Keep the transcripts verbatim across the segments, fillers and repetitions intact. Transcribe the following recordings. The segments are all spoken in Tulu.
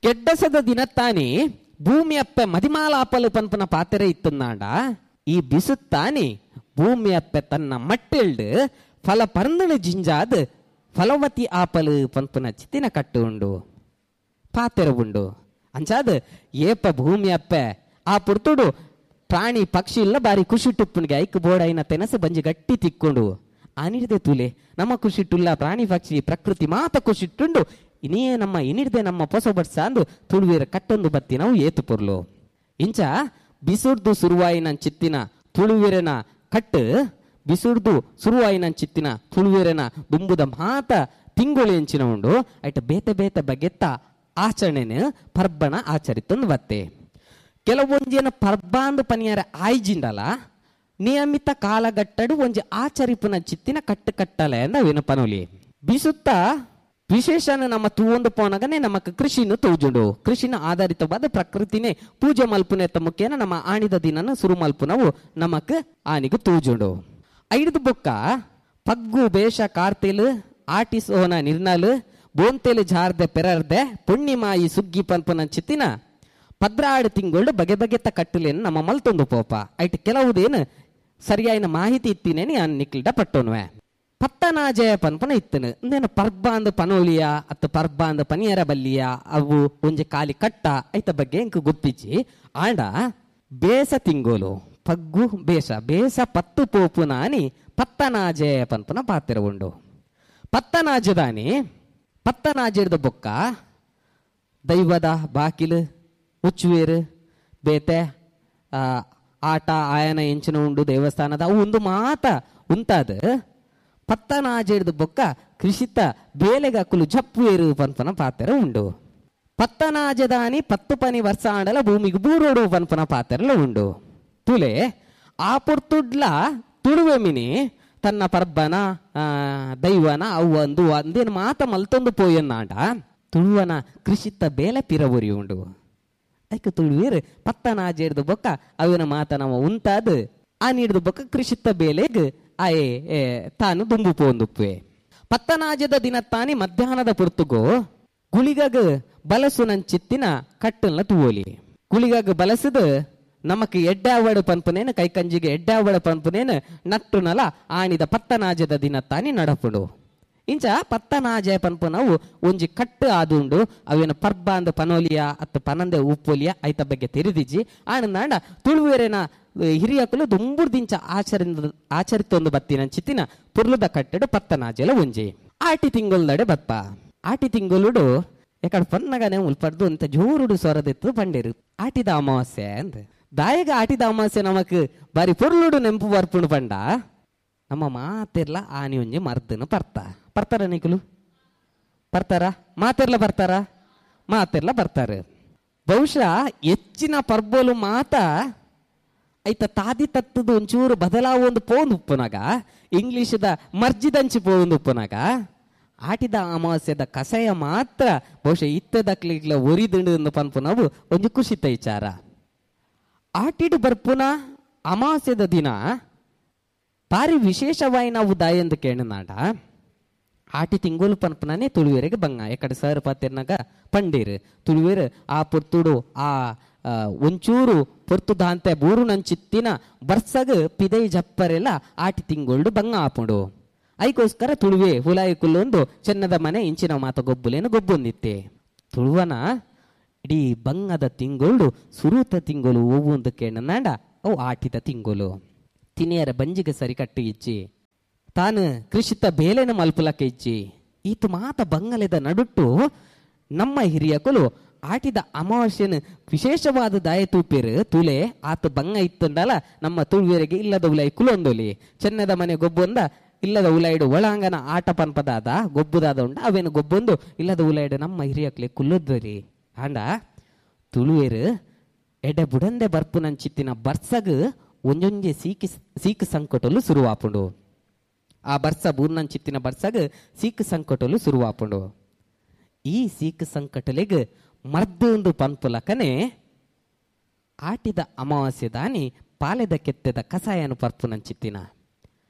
ಕೆಡ್ಡಸದ ದಿನತ್ತಾನಿ ಭೂಮಿಯಪ್ಪೆ ಮದಿಮಾಲಾಪಲು ಪನ್ಪುನ ಪಾತೆರೆ ಇತ್ತುಂದಾಂಡ ಈ ಬಿಸುತ್ತಾನಿ ಭೂಮಿಯಪ್ಪೆ ತನ್ನ ಮಟ್ಟೆಲ್ಡು ಫಲ ಪರ್ಂದಣ ಜಿಂಜಾದ್ ಫಲವತಿ ಆಪಲು ಪನ್ಪುನ ಚಿತ್ತಿನ ಕಟ್ಟು ಉಂಡು ಪಾತೆರ ಉಂಡು. ಅಂಚಾದ ಏಪ ಭೂಮಿಯಪ್ಪೆ ಆ ಪುರ್ತುಡು ಪ್ರಾಣಿ ಪಕ್ಷಿ ಇಲ್ಲ ಬಾರಿ ಖುಷಿ ಟುಪ್ಪುನಿಗೆ ಐಕ್ ಬೋಡೈನ ತೆನಸು ಬಂಜಿ ಗಟ್ಟಿ ತಿಕ್ಕೊಂಡು ಅನಿರ್ದೆ ತುಲೆ ನಮ್ಮ ಖುಷಿಟ್ಟುಲ್ಲ ಪ್ರಾಣಿ ಪಕ್ಷಿ ಪ್ರಕೃತಿ ಮಾತ ಖುಷಿಟ್ಟುಂಡು ಇನಿಯೇ ನಮ್ಮ ಇನಿರ್ದೆ ನಮ್ಮ ಪೊಸ ಬಡ್ಸ ಅಂದು ತುಳುವೀರ ಕಟ್ಟೊಂದು ಬತ್ತಿ ನಾವು ಏತು ಪೊರ್ಲು. ಇಂಚ ಬಿಸುರ್ದು ಸುರುವಾಯಿನ ಚಿತ್ತಿನ ತುಳುವೀರನ ಕಟ್ಟು ಬಿಸುರ್ದು ಸುರುವಾಯಿನ ಚಿತ್ತಿನ ತುಳುವೀರನ ದುಂಬುದ ಮಾತ ತಿಂಗಳು ಎಂಚಿನ ಉಂಡು ಐಟ ಬೇತೆ ಬೇತೆ ಬಗೆತ್ತ ಆಚರಣೆನ ಪರ್ಬಣ ಆಚರಿತೊಂದು ಬತ್ತೆ. ಕೆಲವೊಂಜಿನ ಪರ್ಬಾಂದು ಪನಿಯಾರ ಆಯ್ಜಿಂಡಲ ನಿಯಮಿತ ಕಾಲಗಟ್ಟಡು ಒಂಜಿ ಆಚರಿಪುನ ಚಿತ್ತಿನ ಕಟ್ಟು ಕಟ್ಟಲೆ ಅಂದ ಪನೋಲಿ. ಬಿಸುತ್ತ ವಿಶೇಷನ ನಮ್ಮ ತೂವೊಂದು ಪೋನಗನೆ ನಮಕ್ ಕೃಷಿನ ತೋಜುಂಡು. ಕೃಷಿನ ಆಧಾರಿತವಾದ ಪ್ರಕೃತಿನೇ ಪೂಜೆ ಮಲ್ಪುನೆತ್ತ ಮುಖೇನ ನಮ್ಮ ಆಣಿದ ದಿನನ ಸುರು ಮಲ್ಪುನವು ನಮಕ್ ಆನಿಗೆ ತೋಜುಂಡು. ಐದು ಬೊಕ್ಕ ಪಗ್ಗು ಬೇಷ ಕಾರ್ತಿಲ್ ಆಟಿಸೋನ ನಿರ್ನಲ್ ಬೋಂತೆಲು ಜಾರ್ದೆ ಪೆರರ್ದೆ ಪುಣ್ಣಿಮಾಯಿ ಸುಗ್ಗಿ ಪನ್ಪುನ ಚಿತ್ತಿನ ಪದ್ರಾಡು ತಿಂಗಳು ಬಗೆ ಬಗೆತ ಕಟ್ಟುಲೇನು ನಮ್ಮ ಮಲ್ತೊಂದು ಪೋಪ. ಐಟ್ ಕೆಲವುದೇನು ಸರಿಯಾಯಿನ ಮಾಹಿತಿ ಇತ್ತಿನೇನಿ ಅನ್ ನಿಕ್ಲಿಡ ಪಟ್ಟೋನುವೆ. ಪತ್ತನಾಜಯ ಪನ್ಪನ ಇತ್ತನು ಇಂದೇನು ಪರ್ಬ ಅಂದ್ ಪನೋಲಿಯ ಅತ್ತ ಪರ್ಬ ಅಂದ್ ಪನಿಯರ ಬಲ್ಲಿಯ ಅವು ಒಂಜಿ ಕಾಲಿ ಕಟ್ಟ ಐತ ಬಗ್ಗೆ ಇಂಕ್ ಗೊತ್ತಿಜ್ಜಿ. ಆಂಡ ಬೇಸ ತಿಂಗೋಲು ಪಗ್ಗು ಬೇಸ ಬೇಸ ಪತ್ತು ಪೋಪು ನಾನಿ ಪತ್ತನಾಜಯ ಪನ್ಪನ ಪಾತ್ರ ಉಂಡು. ಪತ್ತನಾಜದಾನಿ ಪತ್ತನಾಜದ ಬೊಕ್ಕ ದೈವದ ಬಾಕಿಲು ಉಚ್ಚುವೇರು ಬೇತೆ ಆಟ ಆಯನ ಎಂಚಿನ ಉಂಡು ದೇವಸ್ಥಾನದ ಅವು ಒಂದು ಮಾತ ಉಂತಾದ ಪತ್ತನಾಜೆಡ್ದು ಬೊಕ್ಕ ಕೃಷಿತ ಬೇಲೆಗಕ್ಕುಲು ಜಪ್ಪುವೇರು ಪನ್ಪನ ಪಾತ್ರ ಉಂಡು. ಪತ್ತನಾಜದಾನಿ ಪತ್ತು ಪನಿ ವರ್ಷ ಆಂಡಲ ಭೂಮಿಗೆ ಬೂರೋಡು ಪನ್ಪನ ಪಾತ್ರಲ ಉಂಡು. ತುಲೆ ಆ ಪೊರ್ತುಡ್ಲ ತುಳುವೆ ಮಿನಿ ತನ್ನ ಪರ್ಬನ ದೈವನ ಅವು ಒಂದು ಅಂದೇನು ಮಾತ ಮಲ್ತೊಂದು ಪೋಯನ್ನಾಂಡ ತುಳುವನ ಕೃಷಿತ ಬೇಲೆ ಪಿರವುರಿ ಉಂಡು. ಐಕ ತುಳುವೇರು ಪತ್ತನಾಜೆಡ್ದು ಬೊಕ್ಕ ಅವಿನ ಮಾತ ನಮ್ಮ ಉಂತಾದ ಆ ನೀಡ್ದು ಬೊಕ್ಕ ಕೃಷಿತ ಬೇಲೆಗ್ ಆಯೆ ತಾನು ದುಂಬು ಪೋಂದುಪ್ಪೆ. ಪತ್ತನಾಜದ ದಿನ ತಾನಿ ಮಧ್ಯಾಹ್ನದ ಪುರ್ತುಗೋ ಗುಳಿಗಗ ಬಲಸು ನಂಚಿತ್ತಿನ ಕಟ್ಟಲ್ನ ತೂವೋಲಿ. ಗುಳಿಗಗ ಬಲಸದ ನಮಕ್ ಎಡ್ಡಾವಡು ಪನ್ಪುನೇನು ಕೈಕಂಜಿಗೆ ಎಡ್ಡಾವಡು ಪನ್ಪುನೇನು ನಟ್ಟುನಲ ಆಣಿದ ಪತ್ತನಾಜದ ದಿನ ತಾನಿ ನಡಪುಡು. ಇಂಚ ಪತ್ತನಾಜ ಪನ್ಪುನವು ಒಂಜಿ ಕಟ್ಟು ಆದುಂಡು. ಅವೇನು ಪರ್ಬ ಅಂದ ಪನೋಲಿಯ ಅತ್ತ ಪನಂದೆ ಉಪ್ಪೋಲಿಯ ಐತ ಬಗ್ಗೆ ತೆರಿದಿಜ್ಜಿ. ಆನಂದಾಂಡ ತುಳುವೇರೇನ ಹಿರಿಯಕುಲು ದುಂಬುರ್ದಿಂಚ ಆಚರಿ ಆಚರಿತೊಂದು ಬತ್ತಿನ ಚಿತ್ತಿನ ಪುರ್ಲುದ ಕಟ್ಟಡು ಪತ್ತನಾಜೆಲ ಒಂಜಿ. ಆಟಿ ತಿಂಗೊಲ್ದಡೆ ಬತ್ತ ಆಟಿ ತಿಂಗೊಲುಡು ಎಕಡೆ ಪನ್ನಗನೆ ಉಲ್ಪಡ್ದು ಅಂತ ಜೋರುಡು ಸೊರದಿತ್ತು ಪಂಡೇರು ಆಟಿದ ಅಮಾವಾಸ್ಯೆ ಅಂದ್. ದಾಯಗ ಆಟಿದ ಅಮಾವಾಸ್ಯೆ ನಮಕ್ ಬಾರಿ ಪೊರ್ಲುಡು ನೆಂಪು ಬರ್ಪುಂಡು ಪಂಡ ನಮ್ಮ ಮಾತಿರ್ಲ ಆನಿ ಒಂಜಿ ಮರ್ದನು ಪರ್ತ ಬರ್ತಾರ ನಿಕುಲು ಬರ್ತಾರ ಮಾತಿರ್ಲ ಬರ್ತಾರ ಮಾತಿರ್ಲ ಬರ್ತಾರೆ. ಬಹುಶಃ ಹೆಚ್ಚಿನ ಪರ್ಬೋಲು ಮಾತ ಐತ ತಾದಿ ತತ್ತದ ಒಂಚೂರು ಬದಲಾವ ಒಂದು ಪೋಂದು ಉಪ್ಪುನಾಗ ಇಂಗ್ಲೀಷದ ಮರ್ಜಿದಂಚಿ ಪೋಂದು ಉಪ್ಪುನಾಗ ಆಟಿದ ಅಮಾವಾಸ್ಯದ ಕಸಯ ಮಾತ್ರ ಬಹುಶಃ ಇತ್ತದಕ್ಲಿಗ್ಲ ಒರಿದಿಂಡು ಪನ್ಪುನವು ಒಂಜಿ ಖುಷಿತ ವಿಚಾರ. ಆಟಿಡು ಬರ್ಪುನ ಅಮಾವಾಸ್ಯದ ದಿನ ಬಾರಿ ವಿಶೇಷವಾಗಿ ನಾವು ದಾಯಂದು ಕೇಳನಾಡ ಆಟಿ ತಿಂಗೋಲು ಪನ್ಪುನೇ ತುಳುವೇರಿಗೆ ಬಂಗ ಎಕಡೆ ಸರ್ ಪಾತಿರ್ನಾಗ ಪಂಡೀರು ತುಳುವೇರು ಆ ಪೊರ್ತುಡು ಆ ಒಂಚೂರು ಪೊರ್ತು ದಾಂತೆ ಬೂರು ನಂಚಿತ್ತಿನ ಬರ್ಸಗ ಪಿದೈ ಜಪ್ಪರೆಲ್ಲ ಆಟಿ ತಿಂಗೋಲ್ಡು ಬಂಗ ಆಪುಂಡು. ಐಕೋಸ್ಕರ ತುಳುವೆ ಹುಲಾಯಿ ಕುಲ್ಲೊಂದು ಚೆನ್ನದ ಮನೆ ಇಂಚಿನ ಮಾತ ಗೊಬ್ಬುಲೇನು ಗೊಬ್ಬೊಂದಿತ್ತೆ. ತುಳುವನ ಇಡೀ ಬಂಗದ ತಿಂಗೋಲ್ಡು ಸುರೂತ ತಿಂಗೋಲು ಒಂದು ಕೇಳನಾಂಡ ಅವು ಆಟಿದ ತಿಂಗೋಲು. ತಿನಿಯರ ಬಂಜಿಗೆ ಸರಿ ಕಟ್ಟು ಇಚ್ಚಿ ತಾನು ಕೃಷಿತ ಬೇಲೆನ ಮಲ್ಪುಲಕ್ಕೆ ಇಚ್ಚಿ ಈತು ಮಾತ ಬಂಗಲೆದ ನಡುಟ್ಟು ನಮ್ಮ ಹಿರಿಯಕುಲು ಆಟಿದ ಅಮಾವಾಸ್ಯನ ವಿಶೇಷವಾದ ದಾಯ ತೂಪೇರು ತುಲೆ ಆತ ಬಂಗ ಇತ್ತಂದಲ್ಲ ನಮ್ಮ ತುಳುವೆರಿಗೆ ಇಲ್ಲದ ಉಲಾಯಿ ಕುಲೊಂದೊಲಿ ಚೆನ್ನದ ಮನೆ ಗೊಬ್ಬೊಂದ ಇಲ್ಲದ ಉಲಾಯಿಡು ಒಳಾಂಗನ ಆಟ ಪನ್ಪದಾದ ಗೊಬ್ಬುದಾದ ಉಂಡ ಅವೇನು ಗೊಬ್ಬೊಂದು ಇಲ್ಲದ ಉಲಾಯಿಡು ನಮ್ಮ ಹಿರಿಯಕ್ಲೆ ಕುಲ್ಲೊದ್ವರಿ. ಆಂಡ ತುಳುವೇರು ಎಡೆ ಬುಡಂದೆ ಬರ್ಪು ನಂಚಿತ್ತಿನ ಬರ್ಸಗ್ ಒಂಜೊಂಜೆ ಸೀಕಿ ಸೀಕ್ ಸಂಕಟಲು ಸುರುವಾಪುಂಡು. ಆ ಬರ್ಸ ಬೂರ್ನಂಚಿತ್ತಿನ ಬರ್ಸಗ್ ಸೀಕ್ ಸಂಕಟಲು ಸುರುವಾಪುಂಡು. ಈ ಸೀಕ್ ಸಂಕಟಲೆಗ್ ಮರ್ದು ಪನ್ಪುಲಕನೆ ಆಟಿದ ಅಮಾವಾಸ್ಯೆ ದಾನಿ ಪಾಲೆದ ಕೆತ್ತೆದ ಕಸಾಯನು ಪರ್ಪುನಂಚಿತ್ತಿನ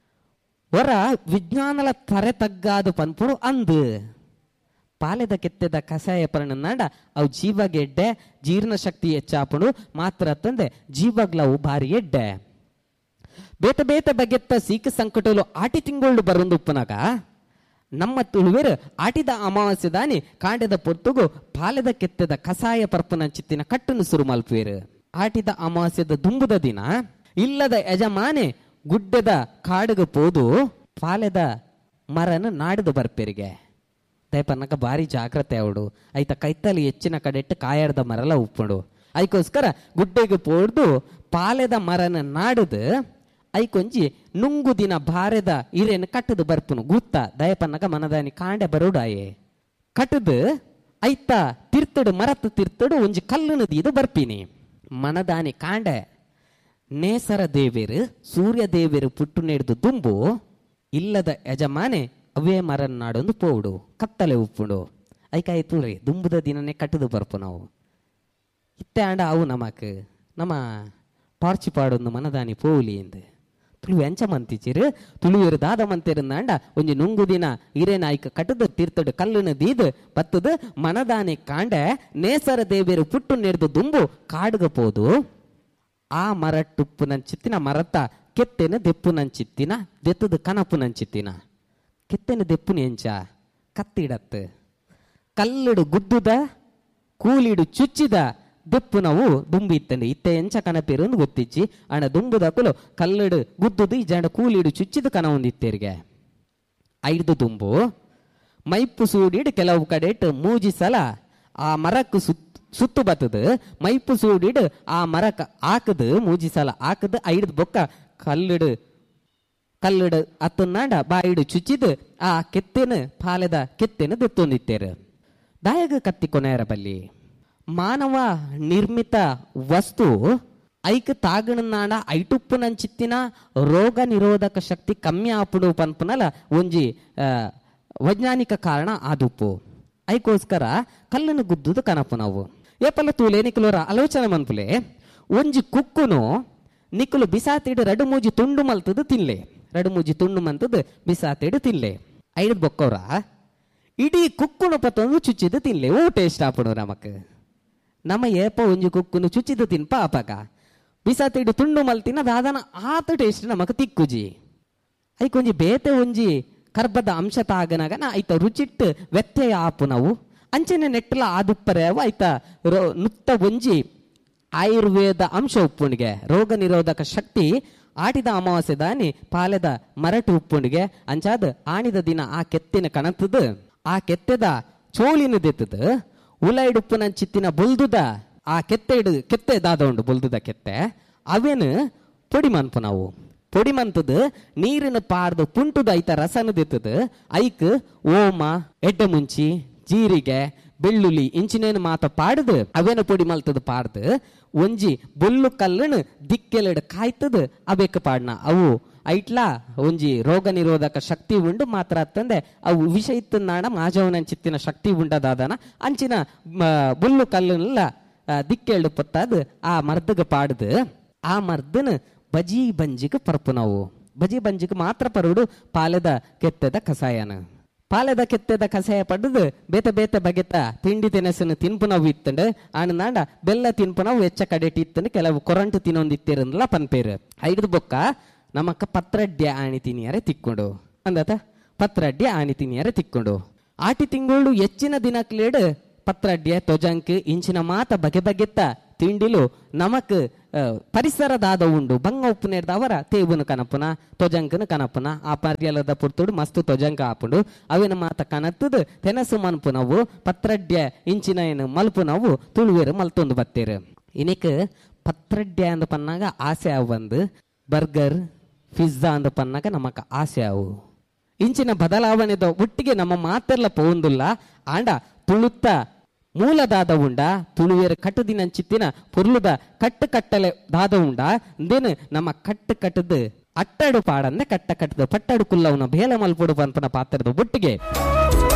ಹೊರ ವಿಜ್ಞಾನಲ ತರೆ ತಗ್ಗಾದು ಪನ್ಪುಡು ಅಂದು ಪಾಲೆದ ಕೆತ್ತೆದ ಕಷಾಯ ಪರ್ಣನಾಡ ಅವು ಜೀವಗೆಡ್ಡೆ, ಜೀರ್ಣಶಕ್ತಿ ಹೆಚ್ಚಾಪುಂಡು ಮಾತ್ರ ತಂದೆ ಜೀವಗ್ಲವು ಭಾರಿ ಎಡ್ಡೆ. ಬೇತೆ ಬೇತೆ ಬಗೆತ್ತ ಸೀಕ ಸಂಕಟಲು ಆಟಿ ತಿಂಗಳು ಬರೊಂದು ಉಪ್ಪುನಾಗ ನಮ್ಮ ತುಳುವೆರು ಆಟಿದ ಅಮಾವಾಸ್ಯೆ ದಾನಿ ಕಾಂಡೆದ ಪೊರ್ತುಗು ಪಾಲೆದ ಕೆತ್ತೆದ ಕಷಾಯ ಪರ್ಪುನ ಚಿತ್ತಿನ ಕಟ್ಟನ್ನು ಸುರು ಮಲ್ಪುವೆರು. ಆಟಿದ ಅಮಾವಾಸ್ಯದ ದುಂಬುದ ದಿನ ಇಲ್ಲದ ಯಜಮಾನೆ ಗುಡ್ಡದ ಕಾಡುಗೆ ಪೋದು ಪಾಲೆದ ಮರನ ನಾಡಿದು ಬರ್ಪೆರಿಗೆ. ದಯಪನ್ನಕ ಭಾರಿ ಜಾಗ್ರತೆ ಅವಡು ಐತ ಕೈತಲಿ ಹೆಚ್ಚಿನ ಕಡೆಟ್ಟು ಕಾಯಾರ್ದ ಮರಲ ಉಪ್ಪುಂಡು. ಐಕೋಸ್ಕರ ಗುಡ್ಡೆಗೆ ಪೋಡ್ದು ಪಾಲೆದ ಮರನ ನಾಡುದು ಐಕೊಂಜಿ ನುಂಗು ದಿನ ಬಾರೆದ ಇರೇನು ಕಟ್ಟದು ಬರ್ಪುನು ಗುತ್ತ. ದಯಪನ್ನಕ ಮನದಾನಿ ಕಾಂಡೆ ಬರೋಡಾಯೆ ಕಟ್ಟದು ಐತ ತಿರ್ತಡು ಮರತ್ತು ತಿರ್ತಡು ಒಂಜಿ ಕಲ್ಲುನು ದೀದು ಬರ್ಪಿನಿ. ಮನದಾನಿ ಕಾಂಡೆ ನೇಸರ ದೇವೇರು ಸೂರ್ಯ ದೇವೇರು ಪುಟ್ಟು ನೆಡ್ದು ದುಂಬು ಇಲ್ಲದ ಯಜಮಾನೆ ಅವೇ ಮರನ್ ನಾಡೊಂದು ಪೋಡು ಕತ್ತಲೆ ಉಪ್ಪುಂಡು. ಐಕಾಯ್ತು ರೀ ದುಂಬುದ ದಿನನೇ ಕಟ್ಟದು ಬರ್ಪು ನಾವು. ಇತ್ತೆ ಆಂಡ ಅವು ನಮಕ್ ನಮ್ಮ ಟಾರ್ಚ್ ಪಾಡೊಂದು ಮನದಾನಿ ಪೋಲಿ ಎಂದು ತುಳು ಎಂಚ ಮಂತಿಚಿರು ತುಳುವೆರು ದಾದ ಮಂತಿರಂದಾಂಡ ಒಂಜಿ ನುಂಗು ದಿನ ಹಿರೇನ ಐಕ ಕಟ್ಟದು ತೀರ್ತಡು ಕಲ್ಲುನ ದೀದು ಬತ್ತದು ಮನದಾನಿ ಕಾಂಡೆ ನೇಸರ ದೇವೇರು ಪುಟ್ಟು ನೆಡ್ದು ದುಂಬು ಕಾಡುಗ ಪೋದು ಆ ಮರ ಟುಪ್ಪು ನಂಚಿತ್ತಿನ ಮರತ್ತ ಕೆತ್ತೆನ ದೆಪ್ಪು ನಂಚಿತ್ತಿನ ದೆತ್ತದ ಕನಪು ನಂಚಿತ್ತಿನ ಕೆತ್ತೆನ ದೆಪ್ಪುನ ಎಂಚ ಕತ್ತಿಡತ್ತು ಕಲ್ಲುಡು ಗುದ್ದುದ ಕೂಲಿಡು ಚುಚ್ಚಿದ ದೆಪ್ಪು ನಾವು ದುಂಬು ಇತ್ತಂಡೆ. ಇತ್ತೆ ಎಂಚ ಕನಪೇರು ಅಂದ್ ಗೊತ್ತಿಚ್ಚಿ ಅಣ್ಣ ದುಂಬುದಕುಲು ಕಲ್ಲುಡು ಗುದ್ದುದು ಈ ಜಂಡ ಕೂಲಿಡು ಚುಚ್ಚಿದ ಕನ ಒಂದಿತ್ತೇರಿಗೆ. ಐದು ದುಂಬು ಮೈಪು ಸೂಡಿಡು ಕೆಲವು ಕಡೆ ಮೂಜಿ ಸಲ ಆ ಮರಕ್ಕೆ ಸುತ್ತ ಸುತ್ತು ಬತ್ತದು ಮೈಪು ಸೂಡಿಡು ಆ ಮರಕ್ಕೆ ಹಾಕದು ಮೂಜಿ ಸಲ ಹಾಕದು ಐದು ಬೊಕ್ಕ ಕಲ್ಲುಡು ಕಲ್ಲುಡು ಅತ್ತನಾಂಡ ಬಾಯಿಡು ಚುಚ್ಚಿದು ಆ ಕೆತ್ತೆನ ಪಾಲೆದ ಕೆತ್ತೆನ ದೆತ್ತೊಂದಿತ್ತೇರು. ದಾಯಗ ಕತ್ತಿ ಕೊನೆಯರ ಬಲ್ಲಿ ಮಾನವ ನಿರ್ಮಿತ ವಸ್ತು ಐಕ್ ತಾಗಣನಾಡ ಐಟುಪ್ಪು ನಂಚಿತ್ತಿನ ರೋಗ ನಿರೋಧಕ ಶಕ್ತಿ ಕಮ್ಮಿ ಆಪುಡು ಪನ್ಪುನಲ ಒಂಜಿ ವೈಜ್ಞಾನಿಕ ಕಾರಣ ಆದುಪ್ಪು. ಐಕೋಸ್ಕರ ಕಲ್ಲನ್ನು ಗುದ್ದುದು ಕನಪು ನಾವು. ಏಪಲ್ಲ ತೂಲೆ ನಿಕುಲೋರ ಆಲೋಚನೆ ಮನ್ಪುಲೆ ಒಂಜಿ ಕುಕ್ಕುನು ನಿಕುಲು ಬಿಸಾತಿಡು ರಡು ಮೂಜಿ ತುಂಡು ಮಲ್ತದು ತಿನ್ಲೆ, ರಡು ಮೂಜಿ ತುಂಡು ಮಂತದ್ದು ಬಿಸಾತಿಡು ತಿನ್ಲೆ. ಐದು ಬೊಕ್ಕವ್ರ ಇಡೀ ಕುಕ್ಕುನು ಪತ್ತೊಂದು ಚುಚ್ಚಿದ್ದು ತಿನ್ಲೆ ಓ ಟೇಸ್ಟ್ ಆಪುಡು ನಮಕ್. ನಮ್ಮ ಏಪ ಒಂಜಿ ಕುಕ್ಕುನು ಚುಚ್ಚಿದ್ದು ತಿನ್ಪ ಆಪಕ ಬಿಸಾತಿಡು ತುಂಡು ಮಲ್ತಿನ ದಾದನ ಆತ ಟೇಸ್ಟ್ ನಮಕ್ ತಿಕ್ಕುಜಿ. ಐಕೊಂಜಿ ಬೇತೆ ಒಂಜಿ ಕರ್ಬದ ಅಂಶ ತಾಗನಾಗ ನಾ ಐತ ರುಚಿಟ್ಟು ವ್ಯತ್ಯಯ ಆಪು ನಾವು. ಅಂಚನೆ ನೆಟ್ಟಲ ಆದುಪ್ಪರೆವು ಐತ ರೋ ನುತ್ತ ಒಂಜಿ ಆಯುರ್ವೇದ ಅಂಶ ಉಪ್ಪುಂಡಿಗೆ ರೋಗ ನಿರೋಧಕ ಶಕ್ತಿ ಆಟಿದ ಅಮಾವಾಸ್ಯೆ ದಾನಿ ಪಾಲೆದ ಮರಟು ಉಪ್ಪುಂಡಿಗೆ. ಅಂಚಾದ ಆಣಿದ ದಿನ ಆ ಕೆತ್ತಿನ ಕಣತದ ಆ ಕೆತ್ತೆದ ಚೋಳಿನ ದೆತ್ತದ ಉಲೈಡುಪ್ಪುನ ಚಿತ್ತಿನ ಬೊಲ್ದುದ ಆ ಕೆತ್ತೆ ಇಡು ಕೆತ್ತೆ ದಾದ ಉಂಡು ಬೊಲ್ದುದ ಕೆತ್ತೆ ಅವೇನು ಪೊಡಿ ಮನ್ಪು ನಾವು. ಪೊಡಿ ಮಂತದ ನೀರಿನ ಪಾರ್ದು ಪುಂಟುದ ಐತ ರಸನ ದೆತ್ತದ ಐಕ್ ಓಮ ಎಡ್ಡೆ ಮುಂಚಿ ಜೀರಿಗೆ ಬೆಳ್ಳುಳ್ಳಿ ಇಂಚಿನೇನು ಮಾತ ಪಾಡುದು ಅವೇನು ಪೊಡಿ ಮಲ್ತದ ಪಾಡ್ದು ಒಂಜಿ ಬೊಲ್ಲು ಕಲ್ಲನ್ನು ದಿಕ್ಕೆಲೆಡು ಕಾಯ್ತದ ಅವೇಕ ಪಾಡ್ನ ಅವು ಐಟ್ಲಾ ಒಂಜಿ ರೋಗ ನಿರೋಧಕ ಶಕ್ತಿ ಉಂಡು ಮಾತ್ರ ತಂದೆ ಅವು ವಿಷ ಇತ್ತನಾಡ ಮಾಜವನ ಚಿತ್ತಿನ ಶಕ್ತಿ ಉಂಡದಾದನ ಅಂಚಿನ ಬೊಲ್ಲು ಕಲ್ಲನ್ನೆಲ್ಲ ದಿಕ್ಕೆಲ್ಡು ಪೊತ್ತಾದು ಆ ಮರ್ದಗ ಪಾಡ್ದು ಆ ಮರ್ದನ ಬಜಿ ಬಂಜಿಗೆ ಪರ್ಪು ನಾವು. ಬಜಿ ಬಂಜಿಗೆ ಮಾತ್ರ ಪರುಡು ಪಾಲೆದ ಕೆತ್ತದ ಕಷಾಯನ. ಪಾಲೆದ ಕೆತ್ತೆದ ಕಷಾಯ ಪಡೆದು ಬೇತೆ ಬೇತೆ ಬಗೆತ ತಿಂಡಿ ತಿನಸನ್ನು ತಿನ್ಪು ನಾವು ಇತ್ತಂಡು ಆಣನಾಂಡ ಬೆಲ್ಲ ತಿನ್ಪು ನಾವು ಹೆಚ್ಚ ಕಡೆಟಿ ಇತ್ತಂಡು ಕೆಲವು ಕೊರಂಟು ತಿನ್ನೊಂದಿತ್ತಿರಂದಲ್ಲ ಪನ್ಪೇರು. ಐದು ಬೊಕ್ಕ ನಮಕ್ಕ ಪತ್ರಡ್ಯ ಆಣಿ ತಿನಿಯರೆ ತಿಕ್ಕೊಂಡು ಅಂದತ ಪತ್ರಡ್ಯ ಆಣಿ ತಿನಿಯರೆ ತಿಕ್ಕೊಂಡು ಆಟಿ ತಿಂಗಳು ಹೆಚ್ಚಿನ ದಿನಕ್ಲೇಡು ಪತ್ರಡ್ಯ ತೊಜಂಕ್ ಇಂಚಿನ ಮಾತ ಬಗೆ ಬಗೆತ್ತ ತಿಂಡಿಲು ನಮಕ್ ಪರಿಸರದಾದ ಉಂಡು ಬಂಗ ಉಪ್ಪು ನೇರ್ದವರ ತೇವುನು ಕನಪುನ ತೊಜಂಕನ ಕನಪುನ ಆ ಪರ್ಯಲದ ಪುರ್ತುಡು ಮಸ್ತ್ ತೊಜಂಕ ಆಪುಂಡು ಅವಿನ ಮಾತ ಕನತ್ತದು ತೆನಸು ಮನ್ಪುನವು ಪತ್ರಡ್ಯ ಇಂಚಿನ ಏನು ಮಲ್ಪುನವು ತುಳುವೇರು ಮಲ್ತೊಂದು ಬತ್ತೇರು. ಇನಿಕ್ ಪತ್ರಡ್ಯ ಅಂದ ಪನ್ನಾಗ ಆಸೆ ಅವು ಬಂದು ಬರ್ಗರ್ ಪಿಜ್ಜಾ ಅಂದ ಪನ್ನಾಗ ನಮಕ್ ಆಸೆ ಅವು. ಇಂಚಿನ ಬದಲಾವಣೆದ ಒಟ್ಟಿಗೆ ನಮ್ಮ ಮಾತೆಲ್ಲ ಪೋಂದುಲ್ಲ ಆಂಡ ತುಳುತ್ತ ಮೂಲದಾದ ಉಂಡ ತುಳುವೇರು ಕಟ್ಟುದಿನಂಚಿತ್ತಿನ ಪೊರ್ಲುದ ಕಟ್ಟು ಕಟ್ಟಲೆ ದಾದ ಉಂಡ ಇಂದೇನು ನಮ್ಮ ಕಟ್ಟು ಕಟ್ಟದು ಅಟ್ಟಡು ಪಾಡಂದೆ ಕಟ್ಟ ಕಟ್ಟದ ಪಟ್ಟಡು ಕುಲ್ಲವನ ಬೇಲೆ ಮಲ್ಪುಡು ಪನ್ಪನ ಪಾತ್ರದ ಒಟ್ಟಿಗೆ.